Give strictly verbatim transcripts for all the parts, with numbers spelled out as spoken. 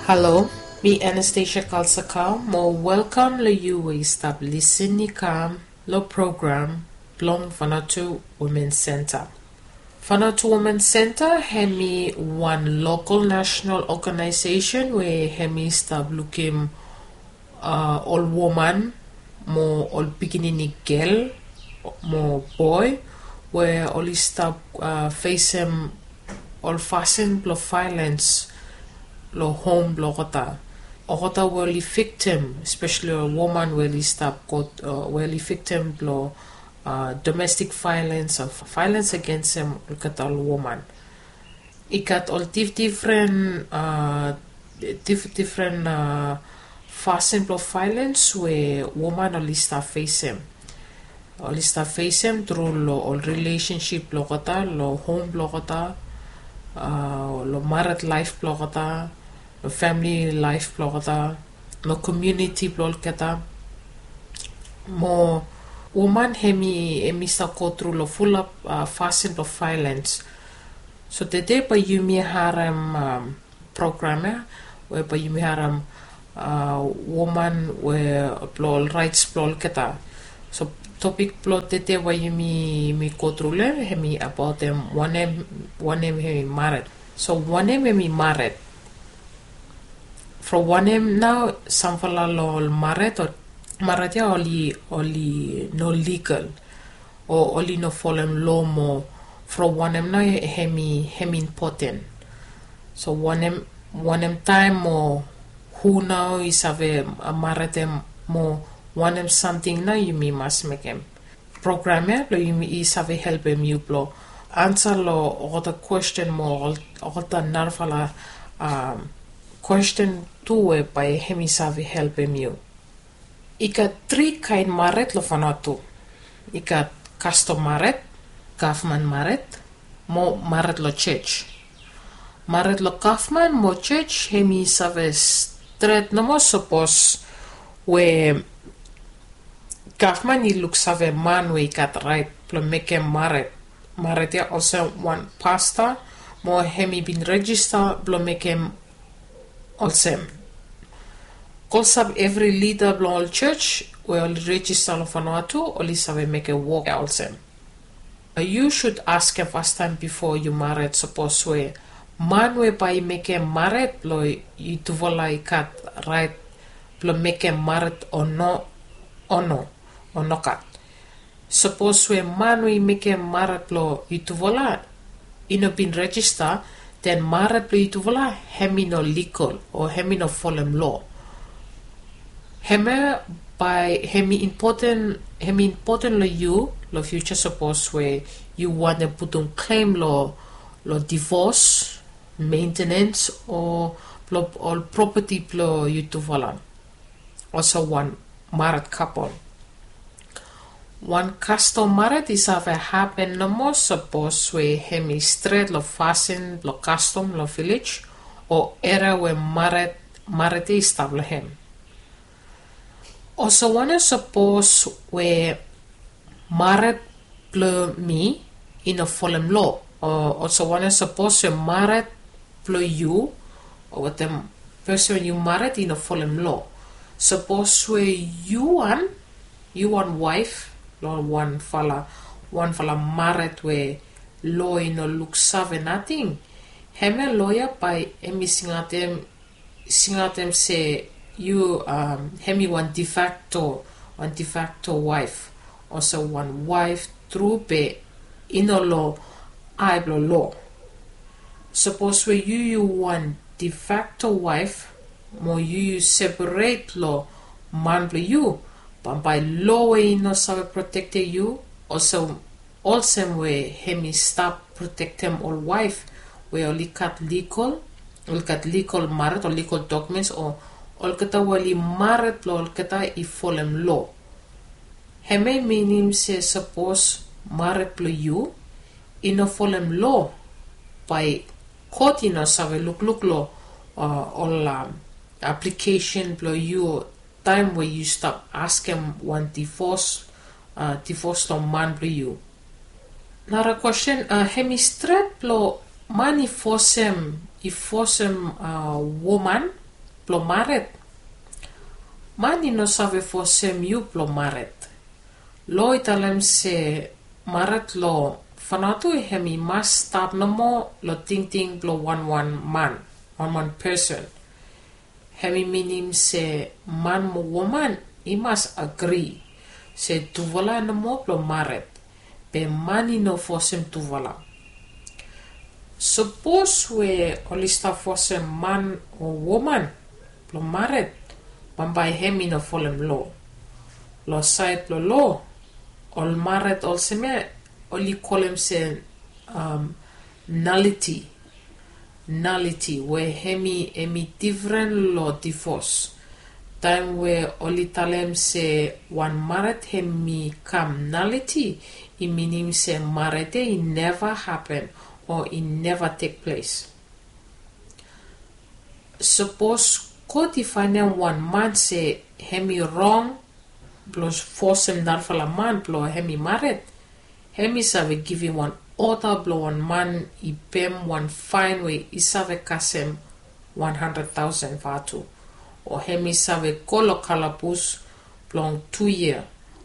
Halo, mi Anastasia Kalsakau mo welkam long yu we i stap lisin i kam long program blong Vanuatu Women Center. Vanuatu Women Center hemi wan lokal nasenal oganaesesen we hemi stap lukim ol woman mo ol pikinini gel mo boe we oli stap fesem ol fasin blong vaelens long hom blong olgeta. Olgeta we oli viktim, espeseli ol woman we oli stap go we oli viktim blong domestik vaelens o vaelens agensem olgeta ol woman. I gat ol difdifren difdifren fasin blong vaelens we woman oli stap fesem. Oli stap fesem tru long ol rilesensip blong olgeta, long hom blong olgeta, long mared laef blong olgeta, long famili laef blong olgeta, long komuniti blong olgeta. Mo woman hemi hemi stap go tru long fulap fasin blong vaelens. So tede bae yumi harem program ya we bae yumi harem woman we blong ol raets blong olgeta. So topik blong tede we yumi yumi go tru long hem hemi abaotem wanem wanem hemi mared. So wanem hemi mared? From wanem nao samfala long ol mared o mared ya oli oli no ligal o oli no folem loa mo from wanem nao hemi hemi impoten. So wanem wanem taem o hu nao i save maredem mo wanem samting nao yumi mas mekem. Program ya blong yumi i save helpem yu blong ansa long olgeta kwesten mo olgeta narafala kwesten tu we bae hemi save helpem yu. I gat tri kaen mared long Vanuatu. I gat kastom mared, gavman mared mo mared long jos. Mared long gavman mo jos hemi save stret nomo sapos we gavman i luksave man we i gat raet blong mekem mared mared ya olsem wan pasta mo hemi bin rejista blong mekem olsem. Klosap evri lida blong ol jos we oli rejista long Vanuatu oli save mekem wok ya olsem. Yu sud askem fastaem bifo yu mared sapos we man we bae i mekem mared blong yutufala i gat raet blong mekem mared o no o no o nogat. Sapos we man we i mekem mared blong yutufala i no bin rejista, den mared blong yutufala hemi no ligal o hemi no folem loa. Hemia bae hemi impoten hemi impoten long yu long fiuja sapos we yu wantem putum klem long long divos, mentenens o blong ol propeti blong yutufala. Olsem wan mared kapol. Wan kastom mared i save hapen nomo sapos we hemi stret long fasin blong kastom long vilej o eria we mared mared ya i stap long hem. Olsem wanem sapos we mared blong mi i no folem loa o olsem wanem sapos we mared blong yu o wetem pesen we yu mared i no folem loa. Sapos we yu wan yu wan waef long wanfala wanfala mared we loa i no luksave nating, hemia loa ya bae hemi singaotem singaotem se yu hemi wan defakto wan defakto waef olsem wan waef tru be i no long ae blong loa. Sapos we yu yu wan defakto waef mo yu yu seperet long man blong yu, bambae loa we i no save protektem yu olsem olsem we hemi stap protektem ol waef we oli gat ligal oli gat ligal mared o ligal dokumens o olgeta we oli mared blong olgeta i folem loa. Hemia i minim se sapos mared blong yu i no folem loa, bae kot i no save lukluk long ol aplikesen blong yu taem we yu stap askem wan divos divos long man blong yu. Nara kwesten, hemi stret blong man i fosem i fosem woman Blong mared. Man i no save fosem yu blong mared. Lo i talem se mared lo fanatu hem i mas stap nomo lo tingting blong wanwan man, wanwan pesen. Hem i minim se man mo woman i mas agri se tufala nomo blong mared. Be man i no fosem tufala. Sapos we oli stap fosem man o woman blong mared, bambae hem i no folem lo. Lo saed blong lo, ol mared olsem ya oli kolem se naliti. Naliti we hem i hem i difren lo divos. Taem we oli talem se wan mared hem i kam naliti, i minim se mared ya i neva hapen o i neva tekples. Sapos God i faenem wan man se hem i rong blong fosem narafala man blong hem i mared, hem i save givim wan oda blong wan man i pem wan faen we i save kasem wan handred taosen vatu, o hem i save go lo kalabus blong tu yia,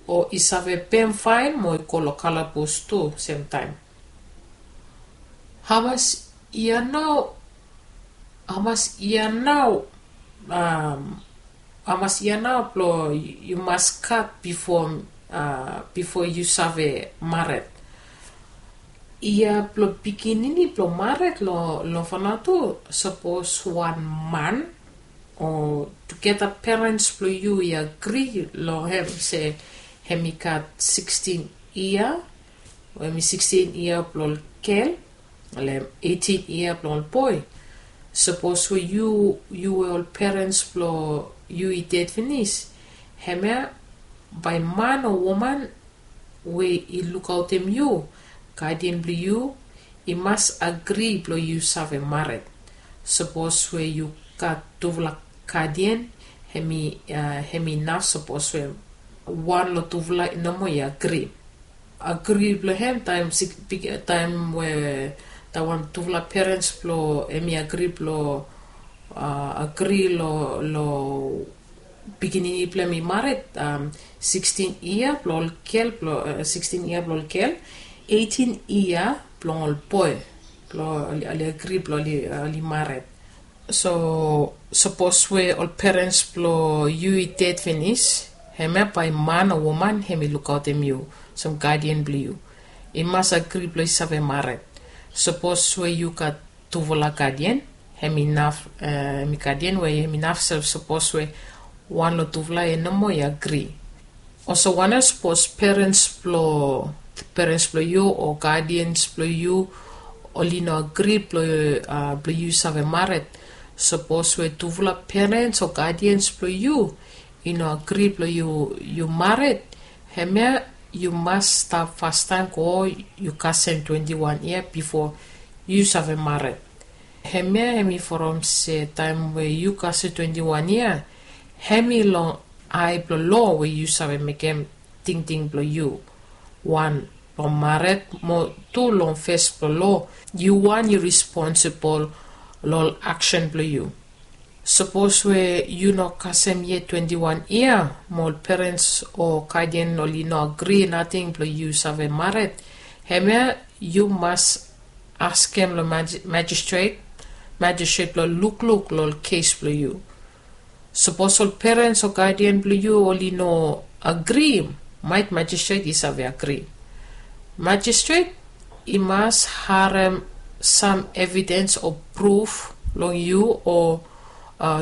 o i save pem faen mo i go lo kalabus tu semtaem. Hamas yia nao, hamas yia nao, hamas yia nao blong yu mas gat bifo, bifo yu save mared? Yia blong pikinini blong mared lo, lo fanatu, sapos wan man o tugeta perens blong yu i agri lo hem se hem i gat sikstin yia, o hem i sikstin yia blong ol gel, o hem eitin yia blong ol boe. Sapos we yu, yu we ol perens blong yu i ded finis, hemia bae man o woman we i lukaotem yu, gadian blong yu, i mas agri blong yu save mared. Sapos we yu gat tufala gadian, hem i, hem i naf sapos we wan lo tufala nomo i agri. Agri blong hem taem sik, bik, taem we taem wan tufala perens blong hem i agri blong, agri lo, lo pikinini blong hem i mared, sikstin yia blong ol gel, blong, sikstin yia blong ol gel, eitin yia blong ol boe, blong oli, oli agri blong oli, oli mared. So sapos we ol perens blong yu i ded finis, hemia bae man o woman hem i lukaotem yu olsem gadian blong yu. I mas agri blong i save mared. Sapos we yu gat tufala gadian, hem i naf, hem i gadian we hem i naf se sapos we wan lo tufala ya nomo i agri. Olsem wanem sapos perens blong, perens blong yu o gadians blong yu oli no agri blong, blong yu save mared? Sapos we tufala perens o gadians blong yu i no agri blong yu, yu mared, hemia yu mas stap fastaem go yu kasem twenti wan yia bifo yu save mared. Hemia hem i from se taem we yu kasem twenti wan yia, hem i long ae blong lo we yu save mekem tingting blong yu. Wan, long mared, mo tu long fes blong lo, yu wan yu responsibol long ol aksen blong yu. Sapos we yu no kasem yet twenti wan yia, mo ol perens o gadian oli no agri nating blong yu save mared, hemia yu mas askem long maj-, majistret, majistret blong lukluk long ol kes blong yu. Sapos ol perens o gadian blong yu oli no agri, maet majistret i save agri. Majistret i mas harem sam evidens o pruf long yu o,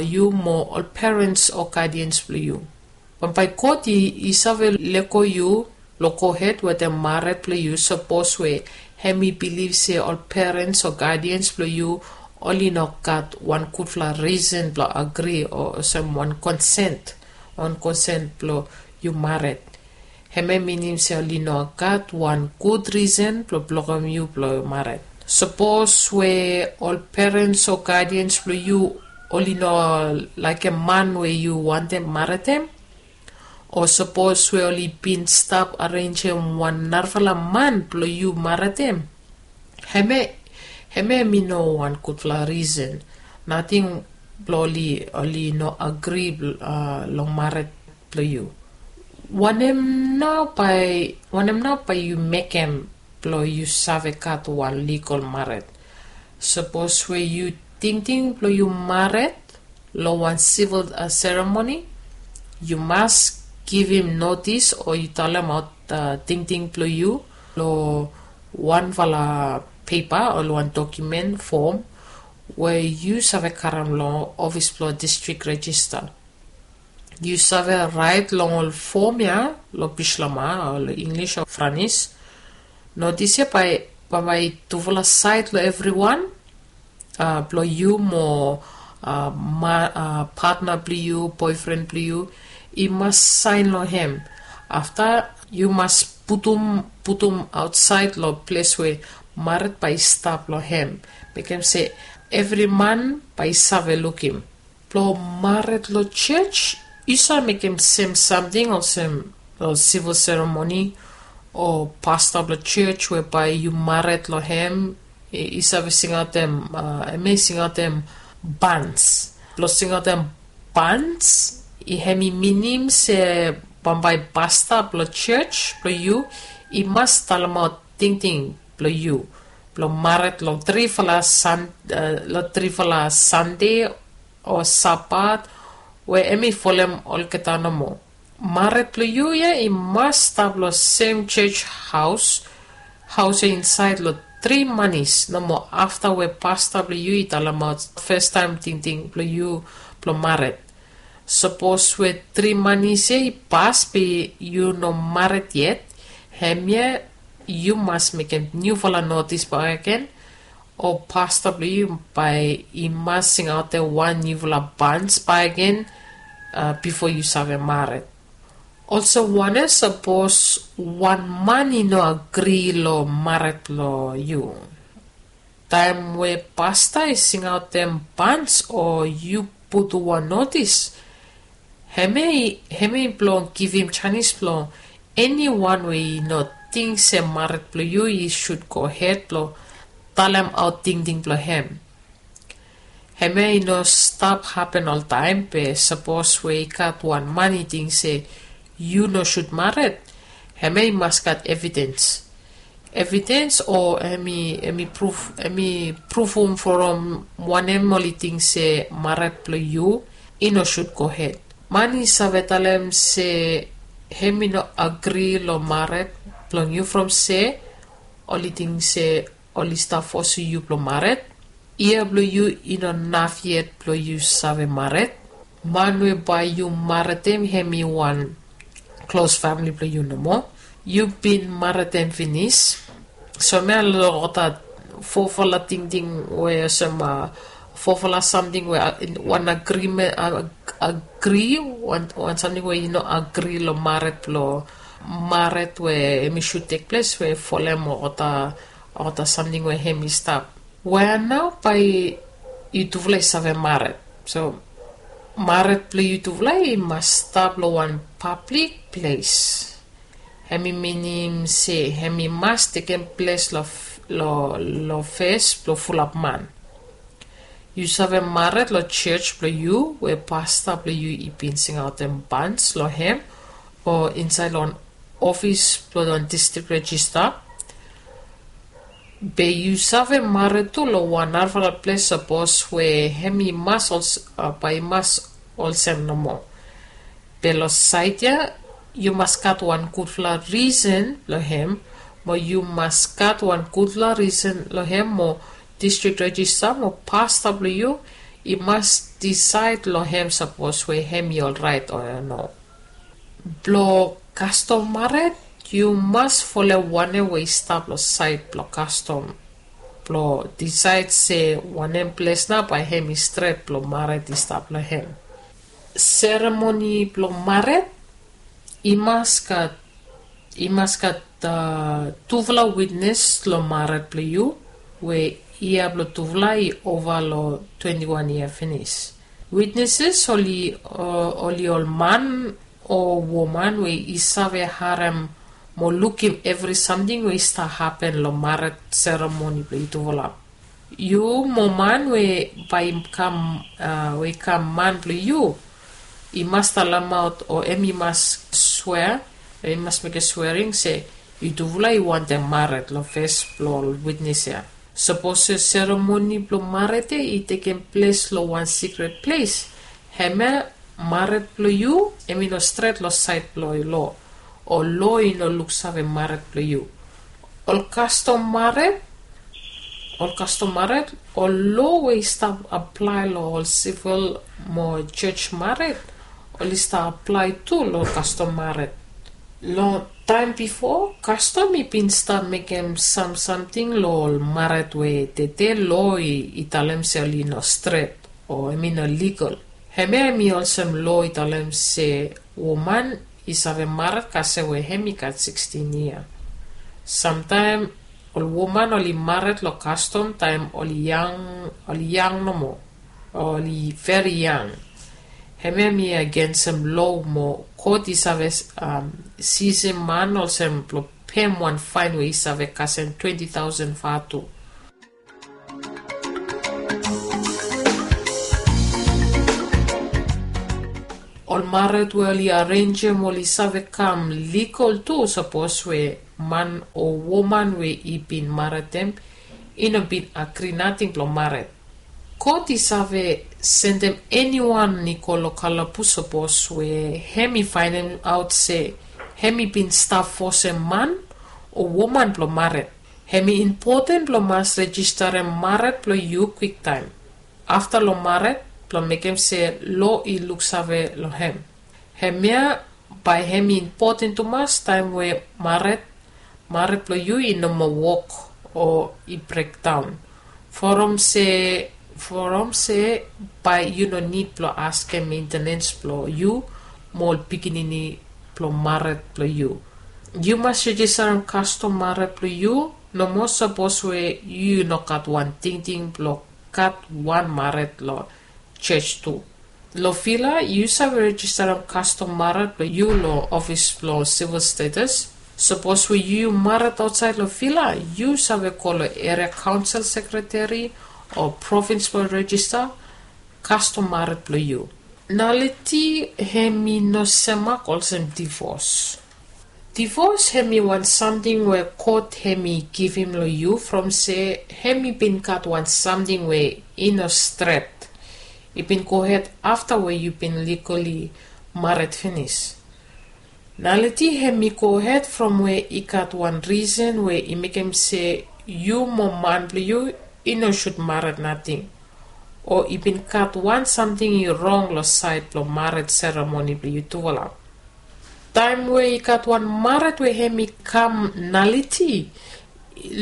yu mo ol perens o gadians blong yu. Bambae kot i, i save lego yu long gohed wetem mared blong yu sapos we hem i bilif se ol perens o gadians blong yu oli no gat wan gudfala risen blong agri o olsem wan konsen, wan konsen blong yu mared. Hemia minim se oli no gat wan gud risen blong blokem yu blong mared. Sapos we ol perens o gadians blong yu oli no laekem man we yu wantem maredem, o sapos we oli bin stap arenjem wan narafala man blong yu maredem, hemia, hemia hem i no wan gudfala risen. Nating blong oli oli no agri long maret blong yu. Wanem nao bai wanem nao bai yu mekem blong yu save gat wan ligol maret? Sapos we yu tingting blong yu maret long wan sivil seremoni, yu mas givim notis o yu talemaot tingting blong yu long wanfala pepa o long wan dokumen fom we yu save karem long ofis blong distrik rejista. Yu save rait long ol fom ya long bislama o long inglis o franis. Notis ya bai bai tufala sait long evriwan blong yu mo patna blong yu boefren blong yu i mas sain long hem. Afta yu mas putum putum ausait long ples we maret bai i stap long hem, mekem se evri man bai i save lukim. Blong maret long sios yu save mekem sem samting olsem long sivil seremoni o pasta blong sios we bai yu maret long hem i save singaotem em i singaotem bans. Blong singaotem bans i hem i minim se bambae pasta blong sios blong yu i mas talemaot tingting blong yu blong maret long trifala san long trifala sande o sabat we em i folem olgeta nomo. Maret blong yu ya i mas stap long sem sios haos haos ya insaed long tri manis nomo afta we pasta blong yu i talemaot festaem tingting blong yu blong maret. Sapos we tri manis ya i pas be yu no maret yet, hemia yu mas mekem niufala notis bakegen o pasta blong yu bae i mas singaotem wan niufala bans bakegen bifo yu save maret. Olsem wanem sapos wan man i no agri long maret blong yu? Taem we pasta i singaotem bans o yu putum wan notis, hemia i blong givim janis blong eniwan we i no ting se maret blong yu i sud gohed blong talemaot tingting blong hem. Hemia i no stap hapen oltaem be sapos we i gat wan man i ting se yu no sud maret, hemia i mas gat evidens. Evidens o em i em i prufum from wanem oli ting se maret blong yu i no sud gohed. Man i save talem se hem i no agri long maret blong yu from se oli ting se oli stap fosim yu blong maret. Yia blong yu i no naf yet blong yu save maret. Man we bae yu maretem hem i wan klos famili blong yu nomo. Yu bin maretem finis. So mi alo olgeta fofala tingting we olsem fofala samting we wan agrimen agri wan samting we i no agri long maret blong maret we em i sud tekples we folem olgeta olgeta samting we hem i stap. Wea nao bae yutufala i save maret? So maret blong yutufala i mas stap long wan pablik ples. Hem i minim se hem i mas tekem ples long fes blong fulap man. Yu save maret long sios blong yu we pasta blong yu i bin singaotem bans long hem o insaed long wan ofis blong wan distrik rejista. Be yu save maret tu long wan narafala ples sapos we hem i mas bae i mas olsem nomo. Be long saed ya yu mas gat wan gudfala risen blong hem mo yu mas gat wan gudfala risen long hem mo distrik rejista mo pasta blong yu i mas disaed long hem sapos we hem i olraet o no. Blong kastom maret yu mas folem wanem we i stap long saed blong kastom blong disaed se wanem ples nao bae hem i stret blong maret i stap long hem. Seremoni blong maret i mas gat i mas gat tufala witnes long maret blong yu we yia blong tufala i ova long twenti wan yia finis. Witneses oli ol man o woman we i save harem mo lukim evri samting we i stap hapen long maret seremoni blong yutufala. Yu mo man we bae i kam we i kam man blong yu, i mas talemaot o em i mas swea, em i mas mekem swering se yutufala i wantem mared long fes blong ol witnes ya. Sapos seremoni blong mared ya i tekem ples long wan sikret ples, hemia mared blong yu em i no stret long saed blong lo, o lo i no luksave mared blong yu. Ol kastom mared ol kastom mared, ol lo we i stap aplae long ol sivil mo joj mared, ol i stap aplae tu long kastom mared. Long taem bifo, kastom i bin stap mekem sam samting long ol mared we tede lo i talem se ol i no stret o em i no ligal. Hemia em i olsem lo i talem se woman i save mared kasem we hem i gat sikstin yia. Samtaem ol woman oli mared long kastom taem oli yang, oli yang nomo, oli veri yang. Hemia em i agensem lo mo kot i save sisem man olsem blong pem wan faen we i save kasem twenti taosen vatu. Ol mared we oli arenjem oli save kam ligal tu sapos we man o woman we i bin maredem i no bin agri nating blong mared. Kot i save sendem eniwan i go long kalabus sapos we hem i faenemaot se hem i bin stap fosem man o woman blong mared. Hem i impoten blong mas rejistarem mared blong yu kwiktaem afta long mared blong mekem se lo i luksave long hem. Hemia bae hem i impoten tumas taem we mared mared blong yu i no moa wok o i brekdaon. From se from se bae yu no nid blong askem mentenens blong yu mo ol pikinini blong mared blong yu. Yu mas rejistarem kastom mared blong yu nomo sapos we yu no gat wan tingting blong gat wan mared long joj tu. Long vila yu save rejistarem kastom mared blong yu long ofis blong sivil status. Sapos we yu mared aotsaed long vila, yu save go long eria kaonsel sekreteri o provins blong rejista kastom mared blong yu. Naliti hem i no semak olsem divos. Divos hem i wan samting we kot hem i givim long yu from se hem i bin gat wan samting we i no stret i bin gohed afta we yu bin ligali mared finis. Naliti hem i gohed from we i gat wan risen we i mekem se yu mo man blong yu i no sud mared nating o i bin gat wan samting i rong long saed blong mared seremoni blong yutufala. Taem we i gat wan mared we hem i kam naliti,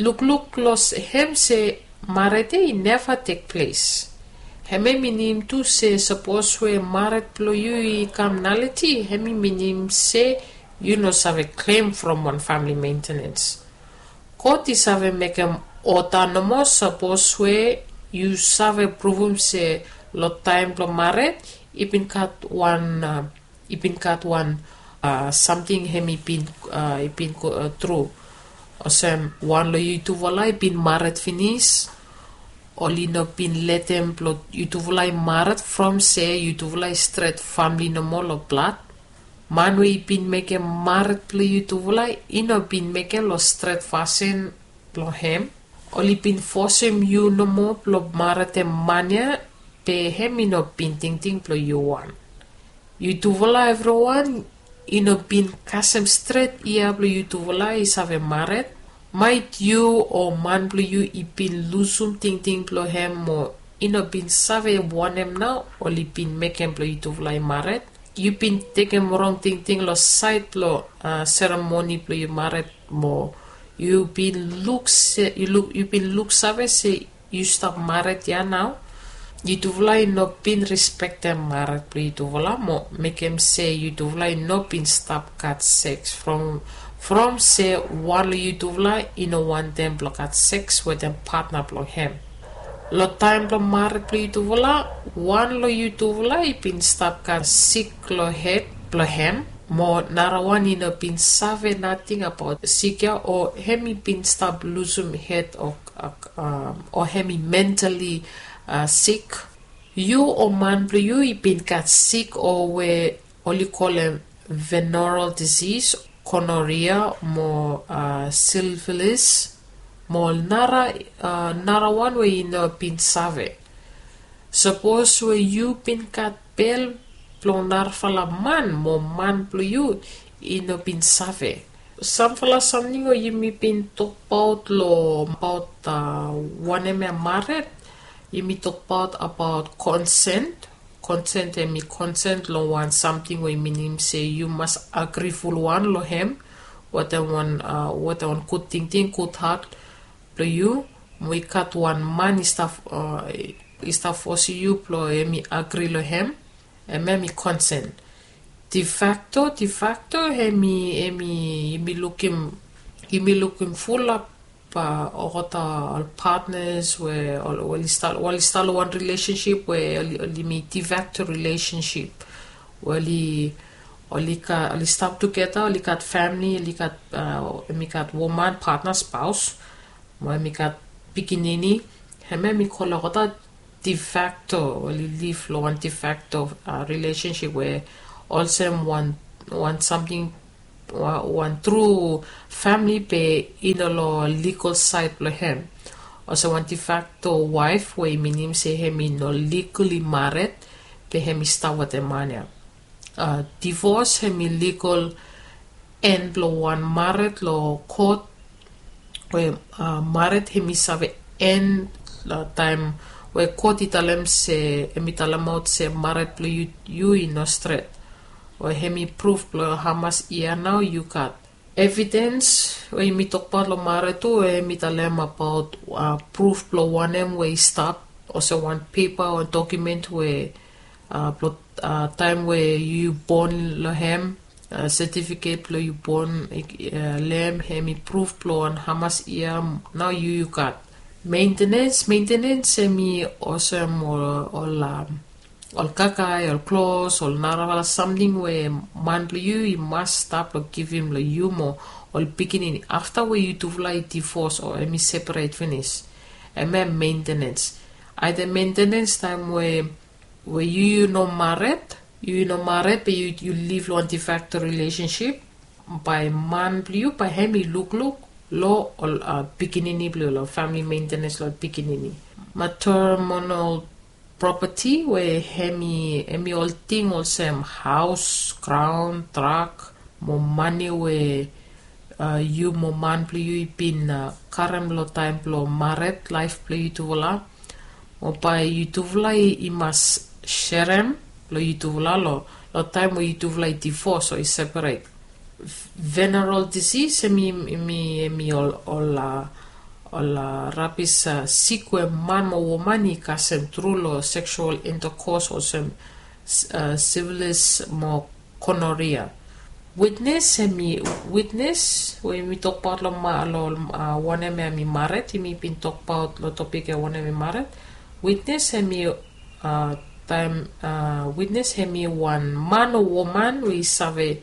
lukluk long hem se mared ya i neva tekples. Hem ya i minim tu se sapos we mared blong yu i kam naliti hem i minim se yu no save klem from wan famili mentenens. God i save mekem oda nomo sapos we yu save pruvum se long taem blong mared i bin gat wan i bin gat wan samting hem i bin i bin go tru. Olsem wan long yutufala i bin mared finis, oli no bin letem blong yutufala i mared from se yutufala i stret famili nomo long blad. Man we i bin mekem mared blong yutufala i no bin mekem long stret fasin blong hem. Oli bin fosem yu nomo blong maredem man ya, be hem i no bin tingting blong yu wan. Yutufala evriwan i no bin kasem stret yia blong yutufala i save mared. Maet yu o man blong yu i bin lusum tingting blong hem mo i no bin save wanem nao oli bin mekem blong yutufala i mared. Yu bin tekem rong tingting long saed blong seremoni blong yu mared mo yu bin luk se yu luk yu bin luksave se yu stap mared ya nao. Yutufala i no bin rispektem mared blong yutufala mo mekem se yutufala i no bin stap gat seks from from se wan long yutufala i no wantem blong gat seks wetem patna blong hem. Long taem blong mared blong yutufala, wan long yutufala i bin stap gat sik long hed blong hem mo narawan i no bin save nating abaot sik ya o hem i bin stap lusum hed o o hem i mentali sik. Yu o man blong yu i bin gat sik o we oli kolem veneral disis, konoria mo silvilis mo nara nara wan we i no bin save. Sapos we yu bin gat bel blong narafala man mo man blong yu i no bin save. Samfala samting we yumi bin tokbaot long abaot wanem ya mared, yumi tokbaot abaot konsen. Konsen em i konsen long wan samting we i minim se yu mas agri fulwan long hem. Wetem wan wetem wan gud tingting, gud hat blong yu. Mo i gat wan man i stap i stap fosim yu blong em i agri long hem. Em em i konsen. Defakto, defakto em i em i yumi lukim yumi lukim fulap olgeta ol patnas we oli stap long wan rilesensip we oli mi defakto rilesensip. We oli oli stap tugeta, oli gat famili, oli gat em i gat woman patna spaos mo em i gat pikinini. Em em i kolem olgeta defakto, oli liv long wan defakto rilesensip we olsem wan wan samting wan tru famili be i no long ligal saed blong hem. Olsem wan defakto waef we i minim se hem i no ligali mared be hem i stap wetem man ya. Divos hem i ligal en blong wan mared long kot we mared hem i save en long taem we kot i talem se em i talemaot se mared blong yu i no stret. We hem i pruf blong hamas yia nao yu gat. Evidens we yumi tokbaot long mared tu we hem i talem abaot pruf blong wanem we i stap, olsem wan pepa o dokumen we blong taem we yu bon long hem, setifiket blong yu bon long hem hem i pruf blong wan hamas yia nao yu yu gat. Mentenens, mentenens hem i olsem ol ol ol kakae, ol klos, ol narafala samting we man blong yu i mas stap long givim long yu mo ol pikinini afta we yutufala i divos o hem i seperet finis. Em em mentenens. Aede mentenens taem we we yu yu no mared, yu yu no mared be yu yu liv long wan defakto rilesensip, bae man blong yu bae hem i lukluk long ol pikinini blong yu, long famili mentenens long ol pikinini. Materemonol propati we hem i hem i ol ting olsem haos, graon, trak mo mane we yu mo man blong yu i bin karem long taem blong mared laef blong yutufala. Mo bae yutufala i mas serem long yutufala long taem we yutufala i divos o i seperet. Veneral disis hem i hem i hem i ol ol ol rabis sik we man mo woman i kasem tru long seksual intakos olsem sivilis mo konoria. Witnes hem i witnes we yumi tokbaot long wanem ya hem i mared, yumi bin tokbaot long topik ya wanem hem i mared. Witnes hem i taem witnes hem i wan man o woman we i save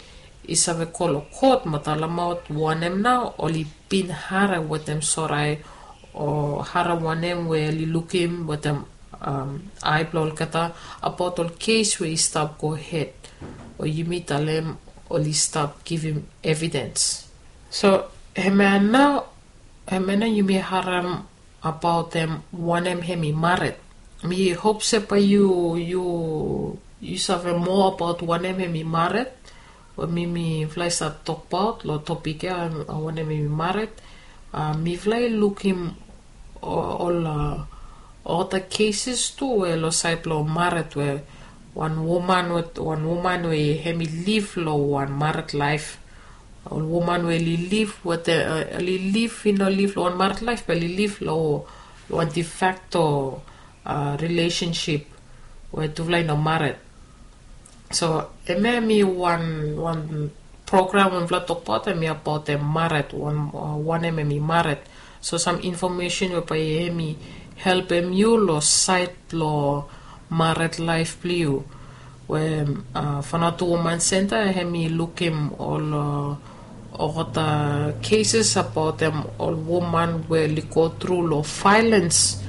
i save go long kot mo talemaot wanem nao oli bin harem wetem sorae o harem wanem we oli lukim wetem ae blong olgeta abaot ol kes we i stap gohed we yumi talem oli stap givim evidens. So hemia nao hemia nao yumi harem abaot hem wanem hem i mared. Mi hop se bae yu yu yu save moa abaot wanem hem i mared we mifala i save tokbaot long topik ya, wanem hem i mared. Mifala i lukim ol olgeta keses tu we long saed blong mared we wan woman we wan woman we hem i liv long wan mared laef. Ol woman we oli liv wetem oli liv i no liv long wan mared laef be oli liv long wan defakto rilesensip we tufala i no mared. So hemia hem i wan wan program we mifala tokbaot hem i abaot hem mared, wanem hem i mared. So sam infomesen we bae hem i helpem yu long saed blong mared laef blong yu. We fanatu woman senta hem i lukim ol Olgeta cases abaot em ol woman we oli go tru long violens,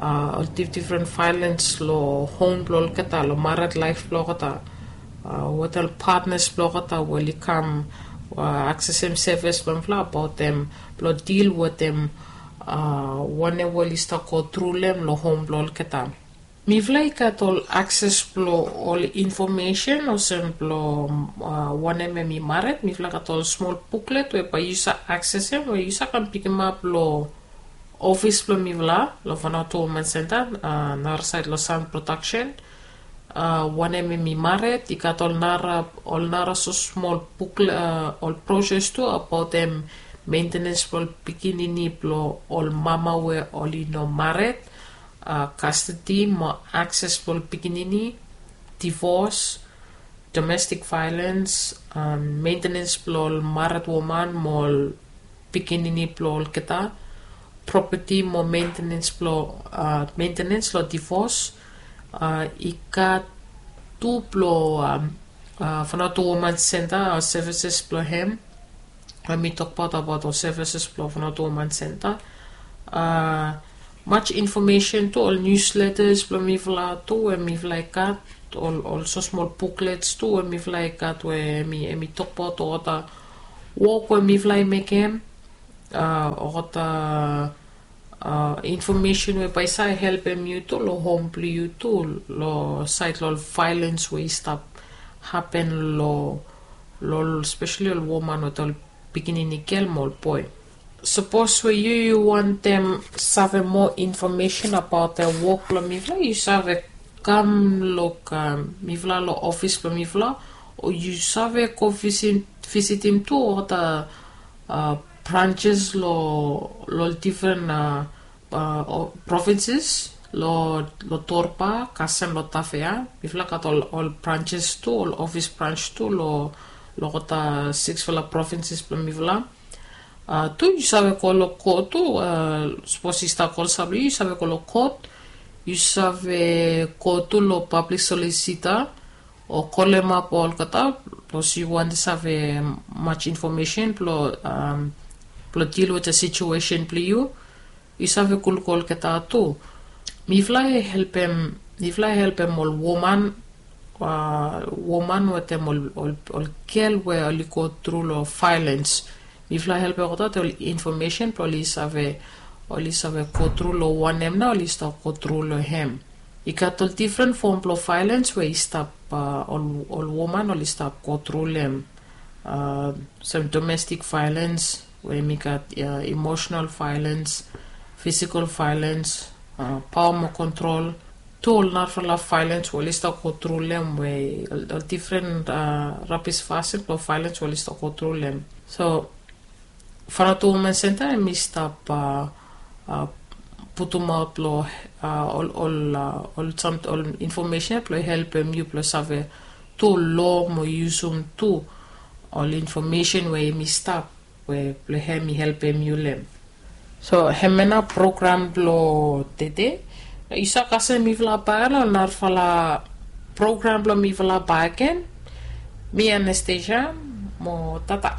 ol difdifren violens long hom blong olgeta, long mared laef blong olgeta, wetem ol patnas blong olgeta we oli kam aksesem sevis blong mifala abaot em blong dil wetem wanem we oli stap go tru long em long hom blong olgeta. Mifala i gat ol akses blong ol infomesen olsem blong wanem em i mared. Mifala gat ol smol buklet we bae yu save aksesem we yu save kam pikimap long ofis blong mifala long Vanuatu Women Center, narasaed long Sound Production. Wanem em i mared, i gat ol nara ol nara so smol buklet, ol proses tu abaot em, mentenens blong ol pikinini blong ol mama we oli no mared, kastedi mo akses blong ol pikinini, divos, domestik vaelens, mentenens blong ol mared woman mo ol pikinini blong olgeta, propeti mo mentenens blong mentenens long divos. I gat tu blong Vanuatu Women Center, sevises blong hem. Em i tokbaot abaot ol sevises blong Vanuatu Women Center. Much infomesen tu, ol niusletas blong mifala tu we mifala i gat, ol so smol buklets tu we mifala i gat we em i tokbaot olgeta wok we mifala i mekem, olgeta infomesen we bae i save helpem yu tu long hom blong yu tu, long saed long ol vaelens we i stap hapen long ol, spesali ol woman wetem ol pikinini gel mo ol boe. Sapos we yu yu wantem save moa infomesen abaot wok blong mifala, yu save kam long mifala long ofis blong mifala, o yu save go visitim tu olgeta branses long ol difren provinses, long Torba kasem long Tafea. Mifala gat ol branses tu, ol ofis brans tu long olgeta siksfala provinses blong mifala. Tu yu save go long kot tu, sapos yu stap olsem blong yu yu save go long kot. Yu save go tu long pablik solisita o kolemap olgeta, sapos yu wantem save much infomesen blong dil wetem situesen blong yu. Yu save go luk olgeta tu. Mifala i helpem mifala i helpem ol woman, woman wetem ol gel we oli go tru long vaelens. Mifala i helpem olgeta wetem ol infomesen blong oli save oli save go tru long wanem nao oli stap go tru long hem. I gat ol difren fom blong vaelens we i stap ol woman oli stap go tru long hem. Olsem domestik vaelens, we em i gat imosenal vaelens, fisikal vaelens, paoa mo kontrol, tu ol narafala vaelens we oli stap go tru long hem, we ol difren rabis fasin blong vaelens we oli stap go tru long hem. So Vanuatu Women Center em i stap putumaot long ol ol ol sam ol infomesen blong helpem yu blong save tu lo mo yusum tu ol infomesen we em i stap, we blong hem i helpem yu long hem. So hemia nao program blong tede. Yu save kasem mifala bae long narafala program blong mifala bakegen. Mi Anastasia, mo tata.